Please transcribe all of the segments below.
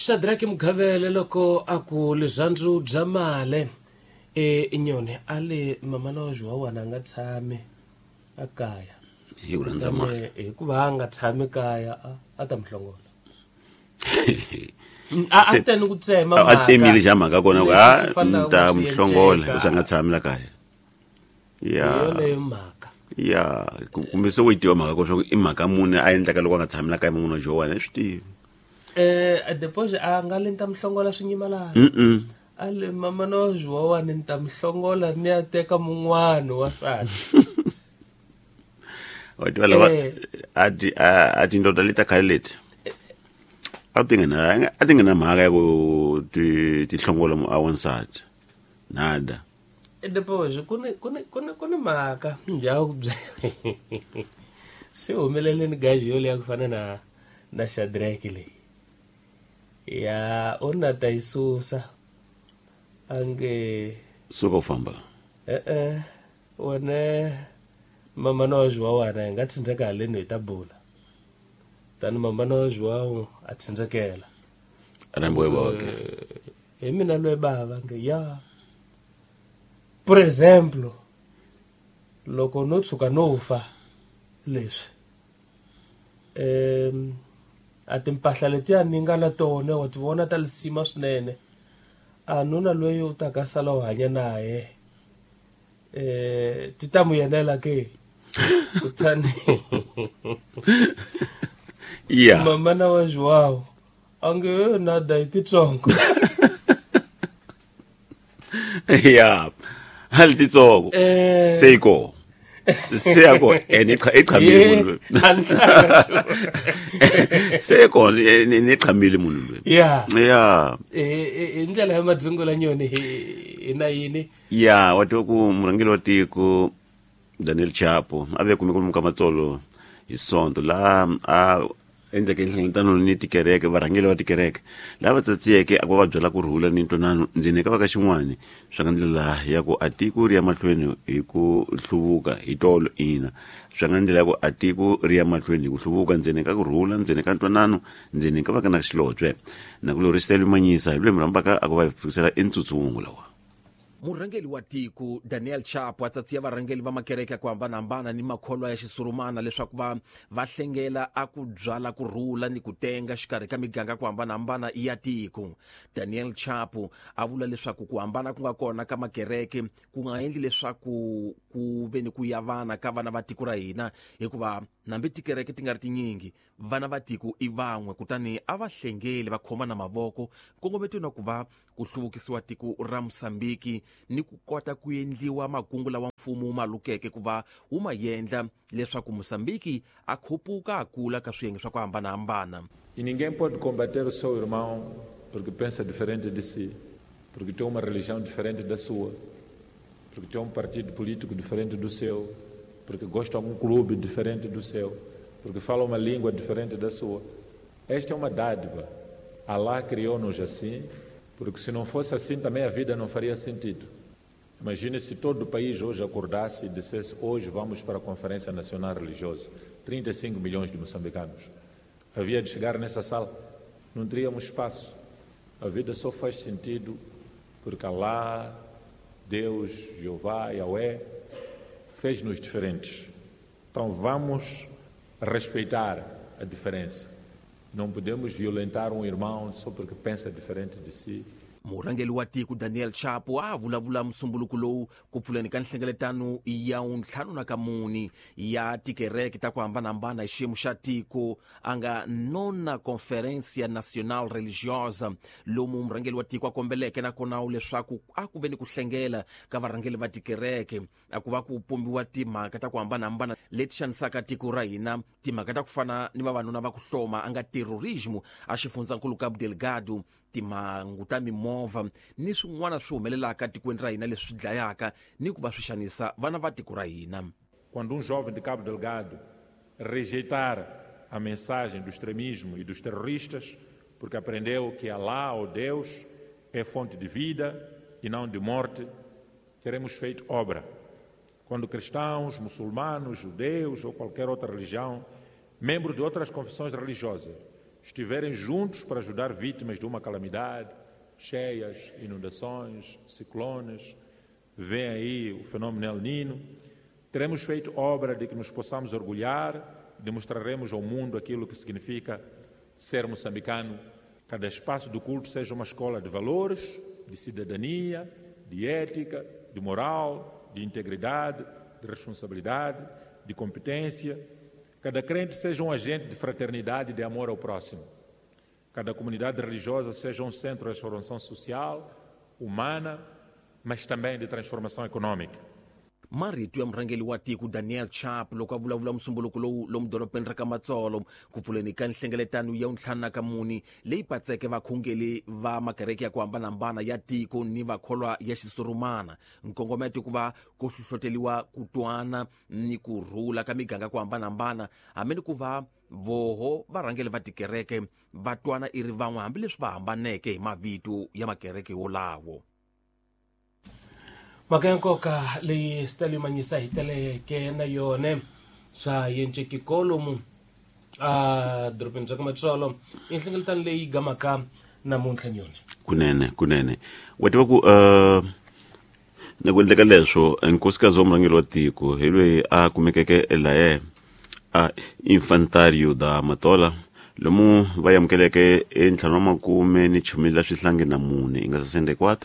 Shadrack Mugavele loko a ku lirhandzu bya male e nyoni a le mama wa Jowana a nga tshami a kaya hi ku rhandza mali hikuva a nga tshami kaya a ta mi hlongola a teni ku tsema a tsemile xa mhaka kona ku a ni ta mi hlongola u nga tshami la kaya ya yoleyo mhaka ya kumbe se u yi tiva mhaka ko swa ku i mhaka muni a endlaka loko a nga tshami la kaya munhu wa Jowana i swi tivi deposit a nga le ni ta mi hlongola swinyimalana a le mama no Jowana ni ta mi hlongola ni ya teka mun'wana wa nsati wa tiva lava a tindoda leti ta khale leti a ti nga a ti nga na mhaka ya ku ti hlongola a wansati nada deposit ku ni ku ni ku ni ku ni mhaka njhani ku byela swi humeleleni gaji yoleyo ku fana na Shadrack leyi ya u na ta yi susa a nge suka u famba e-e wena mama na wa Jowana hi nga tsindzeka haleni hi ta bula tani mama na wa Joao a tsindzekela hi mina loyi bava nge ya por exemplo loko no tshuka no fa leswi a timpahla letiya ni nga na tona wa ti vona ta lisima swinene a nuna loyi u ta ka sala u hanya naye ti ta mu yenela ke kutani ya mama wa Joao a nge nada hi titsongo ya hali titsongo seko seyako ene iqhamile munhu seko ne qhamile munhu loyi ya ya hi ndlela ya madzungu la nyoni hi na yini ya wa tiva ku murhangeri wa tiko Daniel Chapo a ve kume kwalomu ka matsolo hi Sonto laha a endleke nhlengeletano ni tikereke varhangeri va tikereke lava tsatsiyeke a ku va byela ku rhula ni ntwanano ndzeni ka va ka xin'wani swa nga ndlela ya ku a tiko ri ya mahlweni hi ku hluvuka hi tolo ina swa nga ndlela ya ku a tiko ri ya mahlweni hi ku hluvuka ndzeni ka ku rhula ndzeni ka ntwanano ndzeni ka va ka na xilobye na ku lorisitela manyisa hi loyi mi rhambaka a ku va hi fikisela entsutsungu lawa. Murhangeri wa tiko Daniel Chapo a tsatsiya varhangeri va makereke ya ku hambanahambana ni makholwa ya xisurumana leswaku va va hlengela a ku byala ku rhula ni ku tenga xikarhi ka miganga ku hambanahambana ya tiko. Daniel Chapo a vula leswaku ku hambana ku nga kona ka makereke ku nga endli leswaku ku ve ni ku yavana ka vana va tiko ra hina hikuva nambi tikereke ti nga ri tinyingi vana va tiko i van'we kutani a va hlengeli va khomana mavoko nkongometweni wa ku va ku hluvukisiwa tiko ra Mosambiki ni ku kota ku endliwa makungu lawa mfumo wu ma lukeke ku va wu ma endla leswaku Mosambiki a khupuka a kula ka swiyenge swa ku hambanahambana. E ninguém pode combater o seu irmão porque pensa diferente de si, porque tem uma religião diferente da sua, porque tem um partido político diferente do seu, porque gosta de algum clube diferente do seu, porque fala uma língua diferente da sua. Esta é uma dádiva. Allah criou-nos assim, porque se não fosse assim também a vida não faria sentido. Imagine se todo o país hoje acordasse e dissesse: hoje vamos para a Conferência Nacional Religiosa, 35 milhões de moçambicanos. Havia de chegar nessa sala, não teríamos espaço. A vida só faz sentido porque Allah, Deus, Jeová, Yahweh, fez-nos diferentes. Então vamos respeitar a diferença. Não podemos violentar um irmão só porque pensa diferente de si. Murhangeri wa tiko Daniel Chapo a vulavula musumbuluko lowu ku pfuleni ka nhlengeletano ya 54 ya tikereke ta ku hambanahambana hi xiyimo xa tiko a nga nona Conferência Nacional Religiosa lomu murhangeri wa tiko a kombeleke nakona leswaku a ku ve ni ku hlengela ka varhangeri va tikereke a ku va ku pumbiwa timhaka ta ku hambanahambana leti xanisaka tiko ra hina timhaka ta ku fana ni vavanuna va ku hloma a nga terrorismo a xifundzankulu Cabo Delgado timhangu ta mimovha ni swin'wana swi humelelaka tikweni ra hina leswi dlayaka ni ku va swi xanisa vana va tiko ra hina. Quando um jovem de Cabo Delgado rejeitar a mensagem do extremismo e dos terroristas, porque aprendeu que Allah ou Deus é fonte de vida e não de morte, teremos feito obra. Quando cristãos, muçulmanos, judeus ou qualquer outra religião, membros de outras confissões religiosas, estiverem juntos para ajudar vítimas de uma calamidade, cheias, inundações, ciclones, vem aí o fenômeno El Nino, teremos feito obra de que nos possamos orgulhar e demonstraremos ao mundo aquilo que significa ser moçambicano. Cada espaço do culto seja uma escola de valores, de cidadania, de ética, de moral, de integridade, de responsabilidade, de competência. Cada crente seja um agente de fraternidade e de amor ao próximo. Cada comunidade religiosa seja um centro de transformação social, humana, mas também de transformação econômica. Marito ya murhangeri wa tiko Daniel Chapo loko a vulavula musumbuluko lowu lomu dorobeni ra ka Matsolo ku pfuleni ka nhlengeletano ya 54 leyi patseke vakhongeli va makereke ya ku hambanahambana ya tiko ni vakholwa ya xisurumana. Nkongometo ku va ku hlohloteliwa ku twana ni ku rhula ka miganga ku hambanahambana hambi ni ku va voho varhangeri va tikereke va twana i ri van'we hambileswi va hambaneke hi mavito ya makereke wolawo. Mhaka ya nkoka leyi Stanley Manyisa hi teleke na yona swa yenceki kolomu a dorobeni bya ka Matsolo i nhlengeletano leyi gamaka namuntlha nyoni. Kunene wa tiva ku na ku endleka leswo nkosikazi wa murhangeri wa tiko hi loyi a kumekeke laye a Infantario da Matola lomu va amukeleke entlhanu wa makume ni chumi la swihlangi na mune i nga 64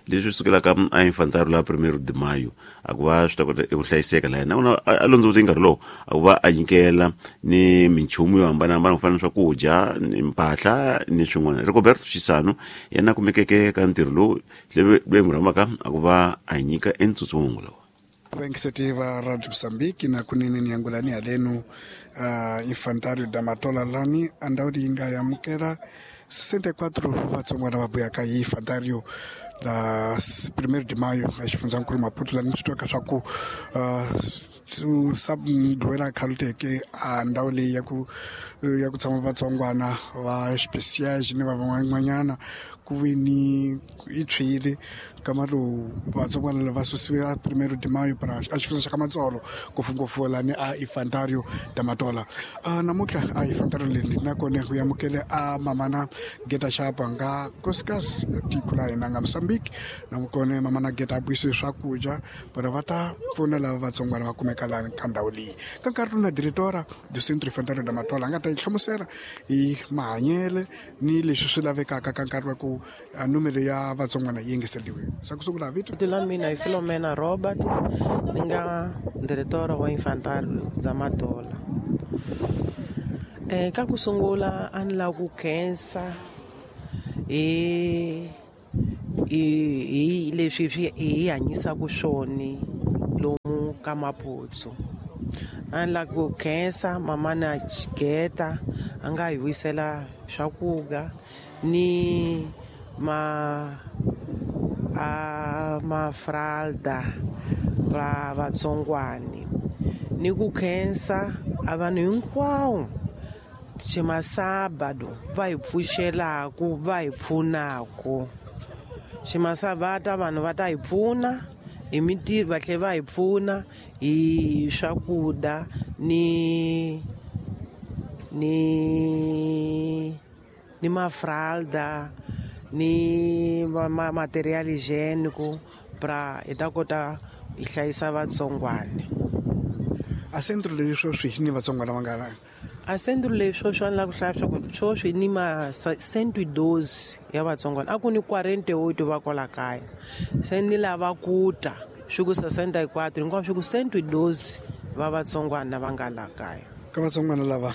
leswi sukelaka a Infantario la 1 de Maio a ku va swi ta kota eku hlayiseka laha nakona a londzovute nkarhi lowu a ku va a nyikela ni minchumu yo hambanahambana ku fana na swakudya ni mpahla ni swin'wana. Rigoberto Xisano yena a kumekeke ka ntirho lowu loyi n'wi rhambaka a ku va a nyika entsutsungo lowu. Iniciativa Radio Mozambique na kunene ni angulani alenu Infantario da Matola lani andaudi inga yamukela 64 vatsongwana va buyaka hi Infantario la 1 de Maio a xifundzankulu Maputo lani swi twaka swa ku sabdwela khaluteke a ndhawu leyi ya ku tshama vatsongwana va speciage ni va van'wanyana ku ve ni yi tshwile nkama lowu vatsongwana lava susiwe a 1 de Maio para a xifundza xa ka Matsolo ngopfungopfu lani a Infantario da Matola. Namuntlha a Infantario leyi nakona ku amukele a mamana Geta Xapa nga nkosikazi ya tiko la hina nga Mozambique nakona mamana Geta a buyisiwe swakudya vona va ta pfuna lava vatsongwana va kumeka lani ka ndhawu leyi. Ka nkarhi lowu na diretora do Centro Infantario da Matola a nga ta yi hlamusela hi mahanyele ni leswi swi lavekaka ka nkarhi wa ku numero ya vatsongwana yi engeteriwe. Sa ku sungula vito la mina i Filomena Robert, ni nga diretora wa Infantario da Matola. Ka ku sungula a ni lava ku khensa hi leswi hi hanyisaka swona lomu ka Maputo. A ni lava ku khensa mamana Geta a nga hi wisela swakudya ni mafralda va vatsongwani ni ku khensa a vanhu hinkwawo ximasabado va hi pfuxelaku va hi pfunaku. Ximasabata vanhu va ta hi pfuna hi mintirho va tlhela va hi pfuna hi swakudya ni mafralda ni material higiênico pra hi ta kota hi hlayisa vatsongwana. A centro leyi sweswi ni vatsongwana va nga a centro leyi sweswi a ni lava ku hlaya swa ku sweswi ni ma 112 ya vatsongwana a ku ni 48 va kwala kaya se ni lava ku ta swi ku 64 hinkwaswo swi ku 112 va vatsongwana va nga la kaya. Ka vatsongwana lava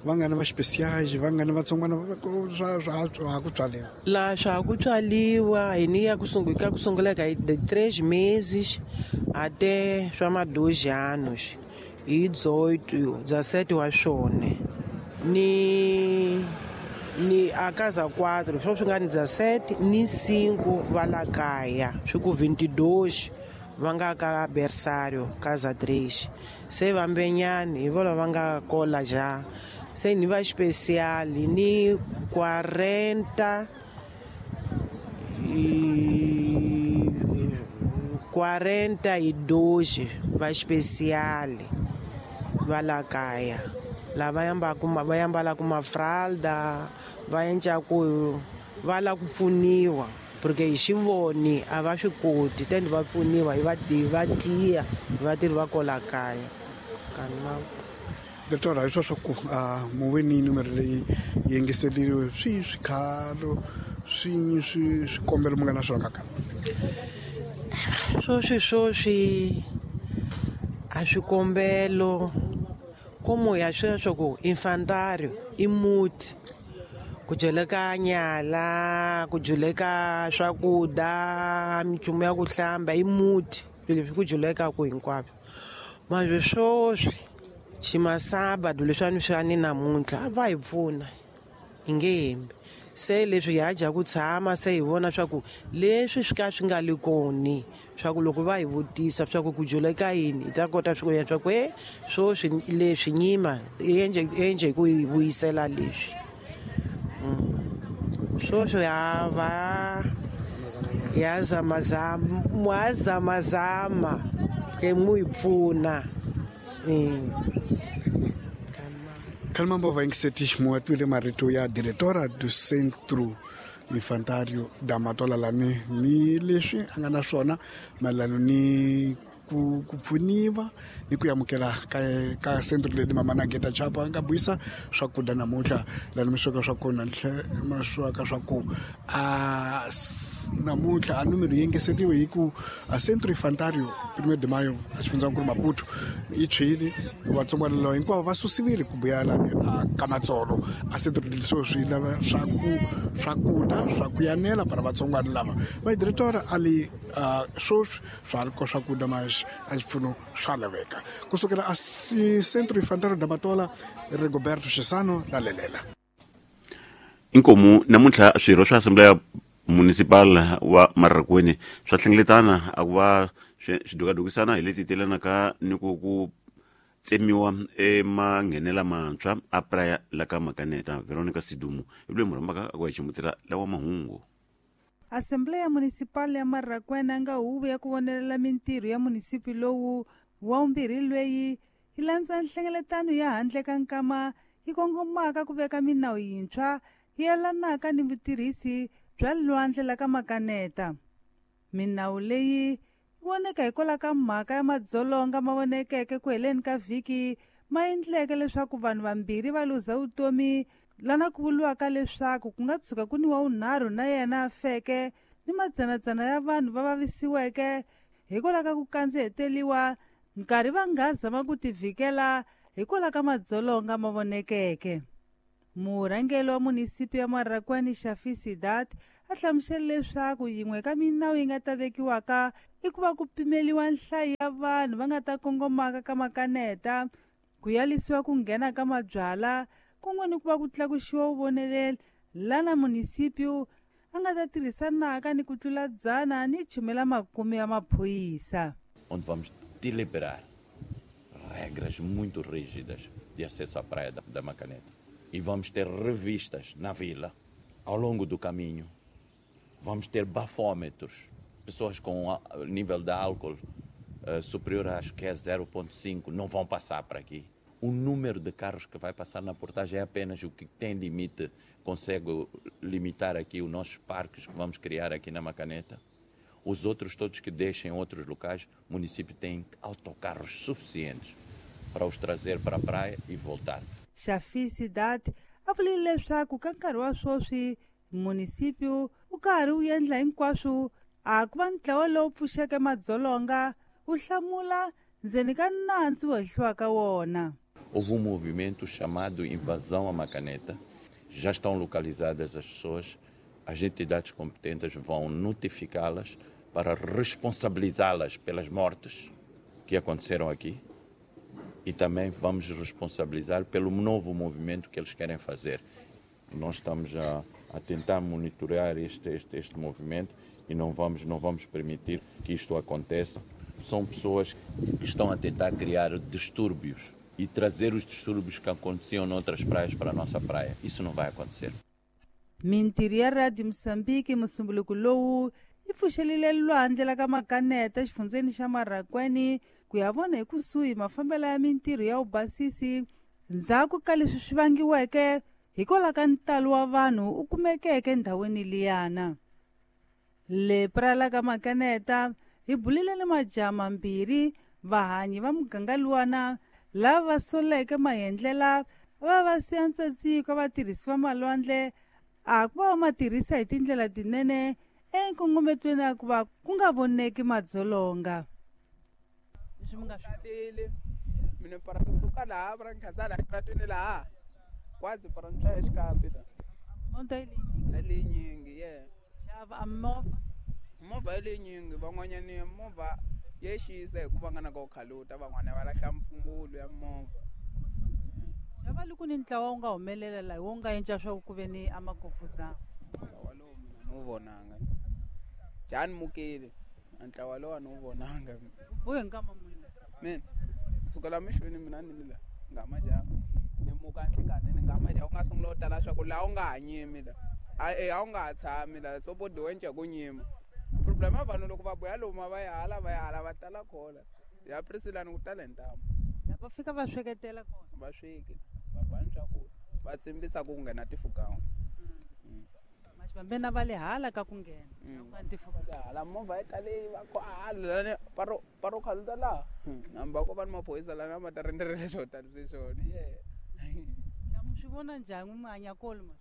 va nga ni va speciage va nga ni vatsongwana swa ha ku tswaliwa la swa ha ku tswaliwa hi ni ya ku sungula ka ku sungula ka de 3 meses até swa ma 2 anos hi 18 17 wa swona ni a casa 4 swo swi nga ni 17 ni 5 va la kaya swi ku 22 va nga ka berçário casa 3 se vambenyani hi vona va nga kola ja se ni va especial ni 40 42 va especial va la kaya. Lava yambaku va yambalaka mafralda va endlaku va lava ku pfuniwa porque hi xivoni a va swi koti tende va pfuniwa hi va tiya vatirhi va kola kaya kanma. Directora, hi swa ku muve ni numero leyi yingiseriwe swi swikhalo swi swikombelo mi nga na swona kaka? Swoswi a swikombelo como ya sweswo ku infantário i muti ku dyeleka nyala, ku dyeleka swakudya, minchumu ya ku hlamba i muti swilo leswi ku dyelekaku hinkwaswo. Manje swoswi ximasaba leswiwani swa ni namuntlha a va hi pfuna hi nge hembi se leswi hi dya ku tshama se hi vona swa ku leswi swi ka swi nga le koni swa ku loko va hi vutisa swa ku ku dyeleka yini hi ta kota swi ku swa ku swoswi leswi nyima endle ku hi vuyisela leswi. Swoswi ya va ya zamazama mwazamazama ke mu hi pfuna. Kalmambo va ingiseti muatwile marito ya diretora do Centro Infantário da Matola lani ni leswi a nga na swona mayelana ni ku pfuniwa ni ku amukela ka centro leyi mama na Geta Chapo a nga buisa swakudya namuntlha lani mi sweka swa kona ma sweka swa ku a namuntlha a numero yi engesetiwe hi ku a Centro Infantário 1 de Maio a xifundzankulu Maputo yi tshwile vatsongwana lava hinkwavo va susiwile ku buya lani a Kamatsolo a centro leswo swi lava swakudya swa ku yanela para vatsongwana lava va directora a li swoswi swa ri ko swakudya mas a xipfuno swa laveka kusukela a Centro Infantário da Matola Rigoberto Xisano na Lelela. Inkomu namuntlha swirho swa Assembleya Municipal wa Marrakwini swa hlengeletana a ku va swi dukadukisana hi leti telanaka ni ku tsemiwa emanghenela mantshwa a Praia la ka Makaneta. Veronica Sidumu hi loyi murhambaka a ku hi ximutela lawa mahungu. Assembleya Municipal ya Marrakwena nga huvo ya ku vonelela mintirho ya munisipi lowu wa vumbirhi lweyi yi landza nhlengeletano ya handle ka nkama yi kongomaka ku veka minawu yintshwa yi yelanaka ni vutirhisi bya lwandle la ka Makaneta. Minawu leyi yi voneka hikwalaho ka mhaka ya madzolonga ma vonekeke ku heleni ka vhiki ma endleke leswaku vanhu vambirhi va luza vutomi lana ku vuriwaka leswaku ku nga tshuka ku ni wa vunharhu na yena a feke ni madzanadzana ya vanhu va vavisiweke hikwalaho ka ku kandziheteliwa nkarhi va nga zama ku tivhikela hikwalaho ka madzolonga ma vonekeke. Murhangeri wa munisipi ya Marrakwani Shafi Sidat a hlamusele leswaku yin'we ka minawu yi nga ta vekiwaka i ku va ku pimeliwa nhlayo ya vanhu va nga ta kongomaka ka Makaneta, ku yalisiwa ku nghena ka mabyala kun'we ni ku va ku tlakuxiwa vuvoneleri lana munisipio a nga ta tirhisanaka ni ku tlula 110 ya maphorisa. Onde vamos deliberar regras muito rígidas de acesso à praia da Macaneta. E vamos ter revistas na vila, ao longo do caminho. Vamos ter bafômetros, pessoas com nível de álcool superior, acho que é 0,5, não vão passar para aqui. O número de carros que vai passar na portagem é apenas o que tem limite, consegue limitar aqui os nossos parques que vamos criar aqui na Macaneta. Os outros todos que deixem outros locais, o município tem autocarros suficientes para os trazer para a praia e voltar. Shafi Sidat a vule leswaku ka nkarhi wa sweswi munisipio wu karhi wu endla hinkwaswo a ku va ntlawa lowu pfuxeke madzolonga wu hlamula ndzeni ka nandzu wo hehliwa ka wona. Houve um movimento chamado Invasão à Macaneta. Já estão localizadas as pessoas, as entidades competentes vão notificá-las para responsabilizá-las pelas mortes que aconteceram aqui e também vamos responsabilizar pelo novo movimento que eles querem fazer. Nós estamos a tentar monitorar este movimento e não vamos permitir que isto aconteça. São pessoas que estão a tentar criar distúrbios e trazer os distúrbios que aconteciam noutras praias para a nossa praia. Isso não vai acontecer. Mintirho ya Radio Moçambique musumbuluko lowu yi pfuxelile lwandle la ka Makaneta exifundzeni xa Marrakwene ku ya vona hi kusuhi mafambelo ya mintirho ya vubasisi Ndzhaku ka leswi swi vangiweke hikwalaho ka ntalo wa vanhu u kumekeke endhawini liyana. Le Praia ka Makaneta hi bulile ni majaha mambirhi vahanyi va muganga luwana lava va soleke maendlela va va siya ntsatsiko vatirhisi va malwandle a ku va va ma tirhisa hi tindlela tinene enkongometweni ya ku va ku nga voneki madzolonga. Leswi mi nga swi mina para kusuka laha para nkhatsala ratweni laha kwazi para ntswa xikambi la monta leyi leyinyingi ye xava a movha movha leyinyingi van'wanyani movha ye xisa hikuva nga na ka khaluta van'wana va lahla mpfungulo ya movha. Xava loko ni ntlawa wu nga humelela laha wu nga endla swa ku ve ni amakofuzana ntlawa lowu mina ni wu vonanga jani mukile ntlawa lowu a ni wu vonanga buhe nkama muni mina kusukela mixweni mina ni la nga majaha ni muka nhlikani ni nga majaha u nga sungula u tala swa ku laha u nga ha nyimi la a wu nga ha tshami la so bodiwe nca ku nyima problem ya vanhu loko va buya loma va ya hala va ya hala va tala khola ya Priscilla ku tala hi ntamu va fika va sweketela kona va sweki va bani swakudya va tsimbisa ku nghena tifukan'we maxivambena va le hala ka ku nghena hala movha yi tale va ko hala paro paro khaluta laha hamba ko va ni maphorisa lana ma ta rindzerele swo talise swona ye swi vona njhani manyakolo ma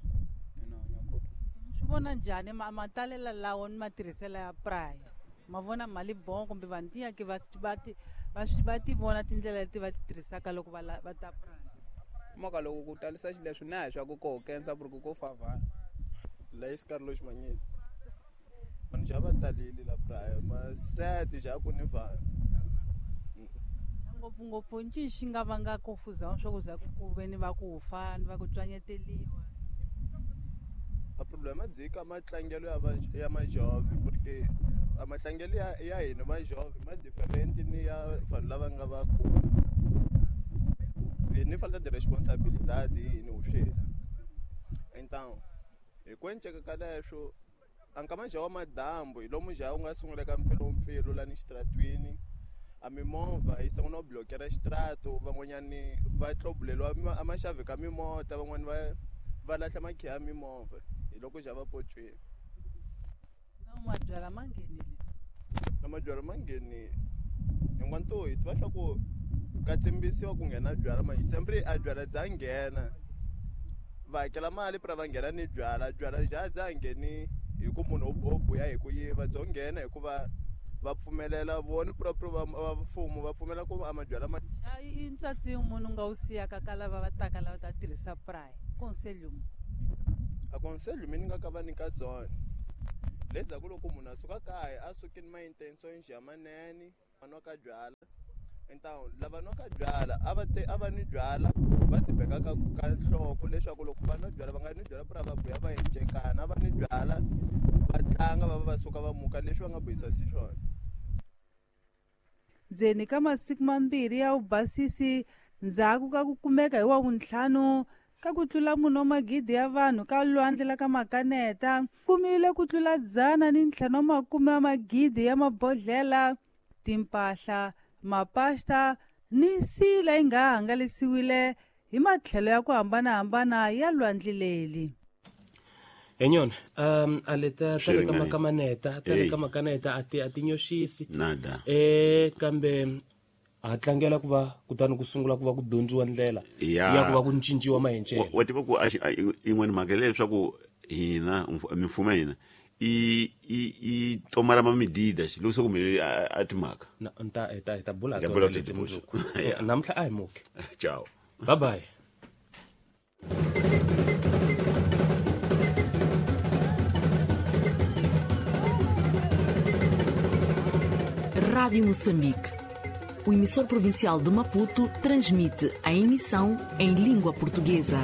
swi vona njhani matalela lawo ni matirhiselo ya Praia ma vona mali bon kumbe vanhu tiyaki va va ti vona tindlela leti va ti tirhisaka loko va va ta Praia maka loko ku talisa xileswi na hi swa ku ko kensa ku ri ku favana la Carlos Manyisa vanhu xa va talile la Praia masete xa ku ni vanhu ngopfungopfu ncini xi nga vanga kofuza swa ku za ku ve ni va ku fa ni va ku tswanyeteliwa a problema dzika matlangelo ya ya majove porque a matlangelo ya hina majove ma different ni ya vanhu lava nga vakulu ni falta de responsabilidade hini uswethu então hi ku enceka ka leswo a nkama nja wa madambu hi lomu nja wu nga sungula ka mpfilumpfilu lani xitratwini a mimovha yi sungula ku blokera xitrato van'wanyani va tlobuleliwa a maxavi ka mimota van'wani va lahla makhiya ya mimovha hi loko xa va potsweni na mabyalwa ma nghenile na mabyalwa ma nghenile hinkwantho hi tiva swa ku ka tsimbisiwa ku nghena byalwa manje sempre a byalwa bya nghena va hakela mali pra va nghena ni byalwa byalwa bya bya ngheni hi ku munhu o buya hi ku yiva byo nghena hikuva va pfumelela vona proprio va mfumo va pfumela ku a mabyalwa ma i ntsatsi munhu nga wu siyaka ka lava va taka lava ta tirhisa Praia conselho a conselho mina nga ka va nyika byona lenzhaku loko munhu a suka kaya a suki ni ma-intention ya manene va nwaka byalwa então lava nwaka byalwa a va nwi byalwa va tibeka ka nhloko leswaku loko va nwa byalwa va nga nwi byalwa pra va buya va encekana va nwi byalwa va tlanga va va suka va muka leswi va nga buyisa xiswona. Ndzeni ka masiku mambirhi ya vubasisi ndzhaku ka ku kumeka hi wa vuntlhanu ka ku tlula munhu wa magidi ya vanhu ka lwandle la ka Makaneta kumile ku tlula 150 wa magidi ya mabodhlela timpahla mapasta ni nsila yi nga hangalasiwile hi matlhelo ya ku hambanahambana ya lwandle leri. Enyona a leta tale ka makamaneta tale ka makaneta a ti nyoxisi nada kambe a tlangela ku va kutani ku sungula ku va ku dyondziwa ndlela ya ku va ku cinciwa mahencelo wa tiva ku yin'wana mhaka leswaku hina mimfumo ya hina i tomara ma medidas loko se ku humelele a timhaka hi ta bula tona leti mundzuku namuntlha a hi muki ciao bye bye. Rádio Moçambique. O emissor provincial de Maputo transmite a emissão em língua portuguesa.